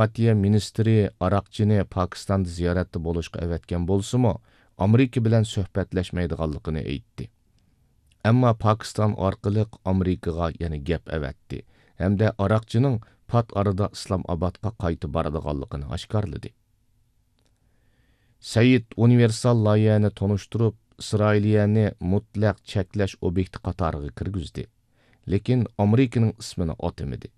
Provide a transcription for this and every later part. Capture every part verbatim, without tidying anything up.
دىپلوماتىيە مىنىستىرى ئاراقچىنى پاكىستاندا زىيارەتتە بولۇشقا ئەۋەتكەن بولسىمۇ، ئامېرىكا بىلەن سۆھبەتلەشمەيدىغانلىقىنى ئېيتتى. ئەمما پاكىستان ئارقىلىق ئامېرىكىغا يەنە گەپ ئەۋەتتى ھەمدە ئاراقچىنىڭ پات ئارىدا ئىسلام ئابادقا قايتا بارىدىغانلىقىنى ئاشكارىلىدى. سەئىد ئۇنىۋېرسال لايىھەنى تونۇشتۇرۇپ، ئىسرائىلىيەنى مۇتلەق چەكلەش ئوبيېكتى قاتارىغا كىرگۈزدى، لېكىن ئامېرىكىنىڭ ئىسمىنى ئاتىمىدى.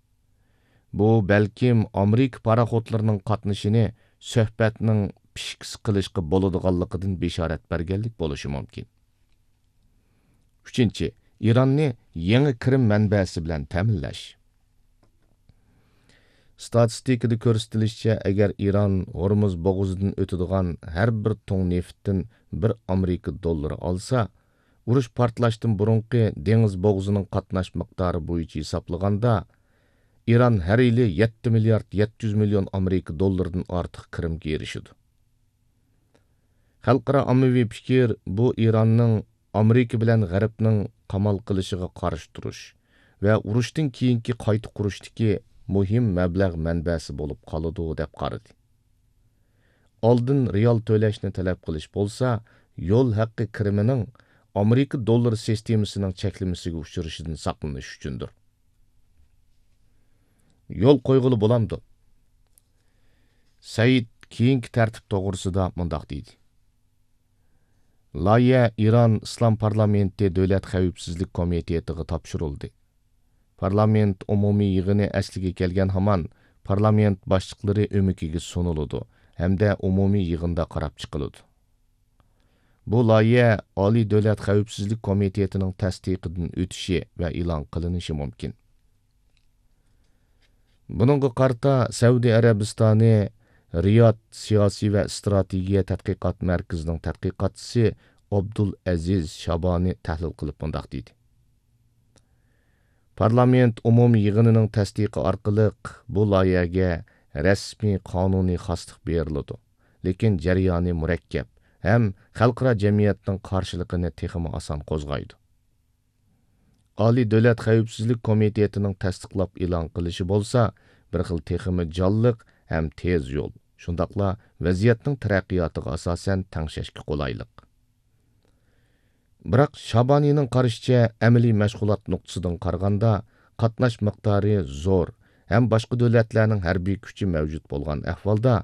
بۇ بەلكىم ئامېرىكا پاراخوتلىرىنىڭ قاتنىشىنى سۆھبەتنىڭ پىشكىسى قىلىشقا بولىدىغانلىقىدىن بېشارەت بەرگەنلىك بولۇشى مۇمكىن. ئۈچىنچى، ئىراننى يېڭى كىرىم مەنبەسى بىلەن تەمىنلەش. ستاتىستىكىدا كۆرسىتىلىشىچە، ئەگەر ئىران ھورمۇز بوغۇزىدىن ئۆتىدىغان ھەر بىر تۇڭ نېفىتتىن بىر ئامېرىكا دوللىرى ئالسا، ئۇرۇش پارتلاشتىن بۇرۇنقى دېڭىز بوغۇزىنىڭ قاتناش مىقدارى بويىچە ھېسابلىغاندا، ئىران ھەر يىلى يەتتە مىليارد يەتتە يۈز مىليون ئامېرىكا دوللىرىدىن ئارتۇق كىرىمگە ئېرىشىدۇ. خەلقئارا ئاممىۋى پىكىر بۇ ئىراننىڭ ئامېرىكا بىلەن غەربنىڭ قامال قىلىشىغا قارشى تۇرۇش ۋە ئۇرۇشتىن كېيىنكى قايتا قۇرۇشتىكى مۇھىم مەبلەغ مەنبەسى بولۇپ قالىدۇ، دەپ قارىدى. ئالدىن رېئال تۆلەشنى تەلەپ قىلىش بولسا، يول ھەققى كىرىمىنىڭ ئامېرىكا دوللىرى سىستېمىسىنىڭ چەكلىمىسىگە ئۇچرىشىدىن ساقلىنىش ئۈچۈندۇر. يول قويغىلى بولامدۇ؟ سەئىد كېيىنكى تەرتىپ توغرىسىدا مۇنداق دېدى: لايىھە ئىران ئىسلام پارلامېنتى دۆلەت خەۋپسىزلىك كومىتېتىغا تاپشۇرۇلدى. پارلامېنت ئومۇمىي يىغىنى ئەسلىگە كەلگەن ھامان، پارلامېنت باشلىقلىرى ئۆمىكىگە سۇنۇلىدۇ ھەمدە ئومۇمىي يىغىندا قاراپ چىقىلىدۇ. بۇ لايىھە ئالىي دۆلەت خەۋپسىزلىك كومىتېتىنىڭ تەستىقىدىن ئۆتۈشى ۋە ئېلان قىلىنىشى مۇمكىن. بۇنىڭغا قارىتا، سەئۇدى ئەرەبىستانى رىياد سىياسىي ۋە ئىستراتېگىيە تەتقىقات مەركىزىنىڭ تەتقىقاتچىسى ئابدۇل ئەزىز شابانى تەھلىل قىلىپ مۇنداق دېدى: پارلامېنت ئومۇمىي يىغىنىنىڭ تەستىقى ئارقىلىق بۇ لايىھەگە رەسمىي قانۇنىي خاسلىق بېرىلىدۇ، لېكىن جەريانى مۇرەككەپ ھەم خەلقئارا جەمئىيەتنىڭ قارشىلىقىنى تېخىمۇ ئاسان قوزغايدۇ. ئالىي دۆلەت خەۋپسىزلىك كومىتېتىنىڭ تەستىقلاپ ئېلان قىلىشى بولسا، بىر خىل تېخىمۇ جانلىق ھەم تېز يول، شۇنداقلا ۋەزىيەتنىڭ تەرەققىياتىغا ئاساسەن تەڭشەشكە قولايلىق. بىراق، شابانىنىڭ قارىشىچە، ئەمەلىي مەشغۇلات نۇقتىسىدىن قارىغاندا، قاتناش مىقدارى زور ھەم باشقا دۆلەتلەرنىڭ ھەربىي كۈچى مەۋجۇت بولغان ئەھۋالدا،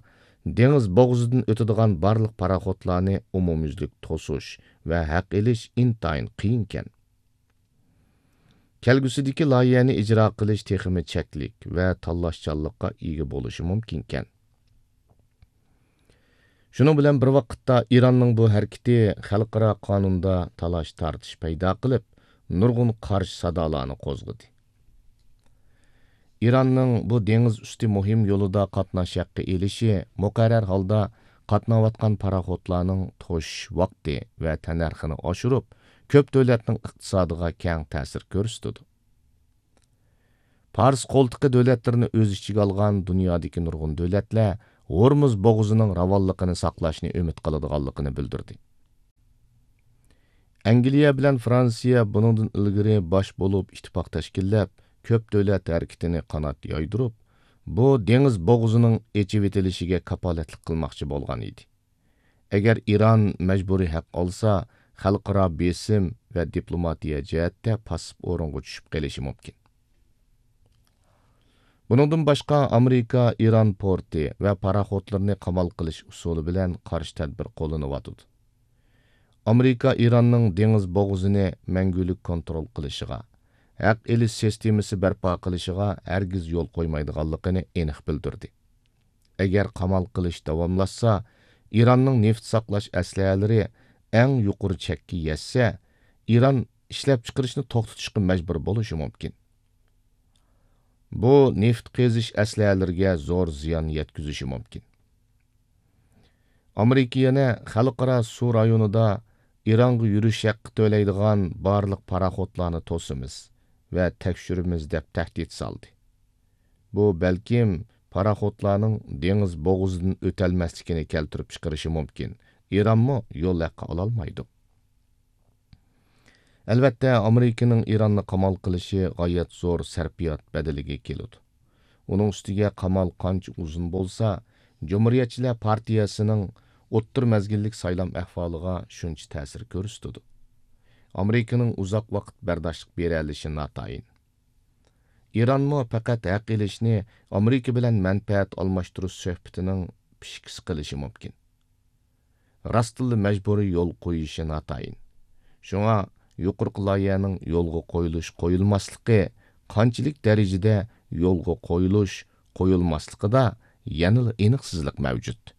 دېڭىز بوغۇزىدىن ئۆتىدىغان بارلىق پاراخوتلارنى ئومۇميۈزلۈك توسۇش ۋە ھەق ئېلىش ئىنتايىن قىيىنكەن. كەلگۈسىدىكى لايىھەنى ئىجرا قىلىش تېخىمۇ چەكلىك ۋە تاللاشچانلىققا ئىگە بولۇشى مۇمكىنكەن. شۇنىڭ بىلەن بىر ۋاقىتتا، ئىراننىڭ بۇ ھەرىكىتى خەلقئارا قانۇندا تالاش-تارتىش پەيدا قىلىپ، نۇرغۇن قارشى سادالارنى قوزغىدى. ئىراننىڭ بۇ دېڭىز ئۈستى مۇھىم يولىدا قاتناش ھەققى ئېلىشى مۇقەررەر ھالدا قاتناۋاتقان پاراخوتلارنىڭ توشۇش ۋاقتى ۋە تەننەرخىنى ئاشۇرۇپ، كۆپ دۆلەتنىڭ ئىقتىسادىغا كەڭ تەسىر كۆرسىتىدۇ. پارس قولتۇقى دۆلەتلىرىنى ئۆز ئىچىگە ئالغان دۇنيادىكى نۇرغۇن دۆلەتلەر ھورمۇز بوغۇزىنىڭ راۋانلىقىنى ساقلاشنى ئۈمىد قىلىدىغانلىقىنى بىلدۈردى. ئەنگلىيە بىلەن فرانسىيە بۇنىڭدىن ئىلگىرى باش بولۇپ ئىتتىپاق تەشكىللەپ، كۆپ دۆلەت ھەرىكىتىنى قانات يايدۇرۇپ، بۇ دېڭىز بوغۇزىنىڭ ئېچىۋېتىلىشىگە كاپالەتلىك قىلماقچى بولغان ئىدى. ئەگەر ئىران مەجبۇرىي ھەق ئالسا، خەلقئارا بېسىم ۋە دىپلوماتىيە جەھەتتە پاسسىپ ئورۇنغا چۈشۈپ قېلىشى مۇمكىن. بۇنىڭدىن باشقا، ئامېرىكا ئىران پورتى ۋە پاراخوتلىرىنى قامال قىلىش ئۇسۇلى بىلەن قارشى تەدبىر قوللىنىۋاتىدۇ. ئامېرىكا ئىراننىڭ دېڭىز بوغۇزىنى مەڭگۈلۈك كونترول قىلىشىغا، ھەق ئېلىش سىستېمىسى بەرپا قىلىشىغا ھەرگىز يول قويمايدىغانلىقىنى ئېنىق بىلدۈردى. ئەگەر قامال قىلىش داۋاملاشسا، ئىراننىڭ نېفىت ساقلاش ئەسلىھەلىرى ئەڭ يۇقىرى چەككە يەتسە، ئىران ئىشلەپچىقىرىشنى توختىتىشقا مەجبۇر بولۇشى مۇمكىن. بۇ نېفىت قېزىش ئەسلىھەلىرىگە زور زىيان يەتكۈزۈشى مۇمكىن. ئامېرىكا يەنە خەلقئارا سۇ رايونىدا ئىرانغا يۈرۈش ھەققى تۆلەيدىغان بارلىق پاراخوتلارنى توسىمىز ۋە تەكشۈرىمىز، دەپ تەھدىت سالدى. بۇ بەلكىم پاراخوتلارنىڭ دېڭىز بوغۇزىدىن ئۆتەلمەسلىكىنى كەلتۈرۈپ چىقىرىشى مۇمكىن، ئىرانمۇ يول ھەققى ئالالمايدۇ. ئەلۋەتتە، ئامېرىكىنىڭ ئىراننى قامال قىلىشى غايەت زور سەرپىيات بەدىلىگە كېلىدۇ. ئۇنىڭ ئۈستىگە قامال قانچە ئۇزۇن بولسا، جۇمھۇرىيەتچىلەر پارتىيەسىنىڭ ئوتتۇرا مەزگىللىك سايلام ئەھۋالىغا شۇنچە تەسىر كۆرسىتىدۇ. ئامېرىكىنىڭ ئۇزاق ۋاقىت بەرداشلىق بېرەلىشى ناتايىن. ئىرانمۇ پەقەت ھەق ئېلىشنى ئامېرىكا بىلەن مەنپەئەت ئالماشتۇرۇش سۆھبىتىنىڭ پىشكىسى قىلىشى مۇمكىن. راستتىنلا مەجبۇرىي يول قويۇشى ناتايىن. شۇڭا يۇقىرىقى لايىھەنىڭ يولغا قويۇلۇش-قويۇلماسلىقى، قانچىلىك دەرىجىدە يولغا قويۇلۇش-قويۇلماسلىقىدا يەنىلا ئېنىقسىزلىق مەۋجۇت.